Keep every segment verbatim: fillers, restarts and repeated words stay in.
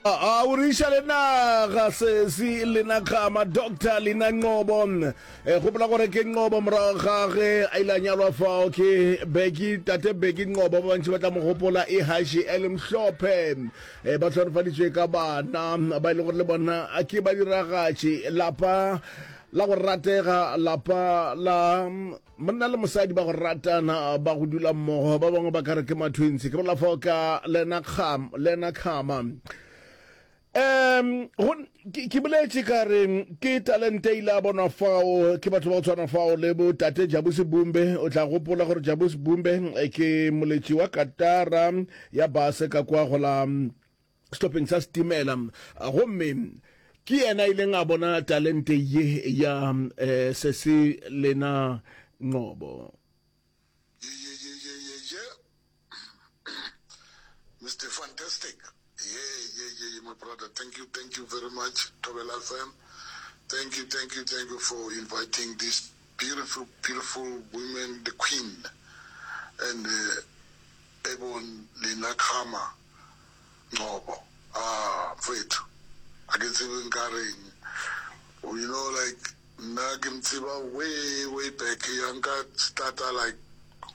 A o re iša le naga sesi lena kgama Doctor Lina Nqobo. E, gopola gore ke Nqobo morago ga ge a ile a nyalwa fao ke Bheki, tate Bheki Nqobo, ba bantši ba tla mo gopola e haši e le mhlophe. E, ba hlonofaditšwe ka bana ba e le gore le bona ke badiragatši. Lapa la go ratega, lapa la monna le mosadi ba go ratana, ba go dula mmogo, ba bangwe ba ka re ke ma-twins. Ke bolela fao ka Lena Kham, Lena Khama. Um go ke ke boletše ka re ke talente ile a bonwa fao ke batho ba go tshwana fao le bo tate Jabusi Bumbe. O tla gopola gore Jabusi Bumbe eh, ke moletši wa katara ya base ka kwa go la sehlopheng sa setimela, gomme ke yena a ileng a bona talente ye ya eh, sesi Lena Nqobo. Yeah, yeah, yeah, yeah, yeah, yeah. Mister Fantastic. Yeah, yeah, yeah, yeah, my brother. Thank you, thank you very much, Thobela F M. Thank you, thank you, thank you for inviting this beautiful, beautiful woman, the queen, and uh, Ebon Lina Khama Ngcobo. Ah, mfethu. A ke tsebe nka reng. You know, like, nna ke mtseba way, way back. Ya nka starta like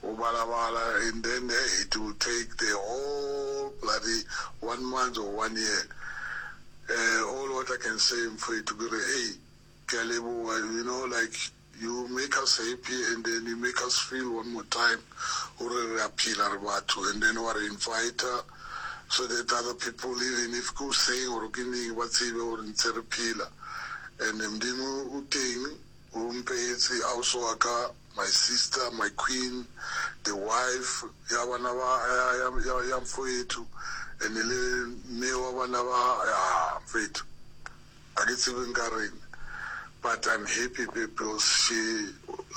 go balabala, and then hey, it will take the whole bloody one month or one year. Uh, all what I can say, mfethu, ke re, hey, ke a leboha, you know, like, you make us happy and then you make us feel one more time gore re a phela re batho, and then wa re invite so that other people, even if ke o seng or ke neng, ba tsebe gore ntse re phela. And Modimo o teng, o mpehetse ausi wa ka, my sister, my queen, the wife ya bana ba ya ya ya, ya mfowethu, and le mme wa bana ba ya mfethu. A ke tsebe nka reng, but I'm happy because she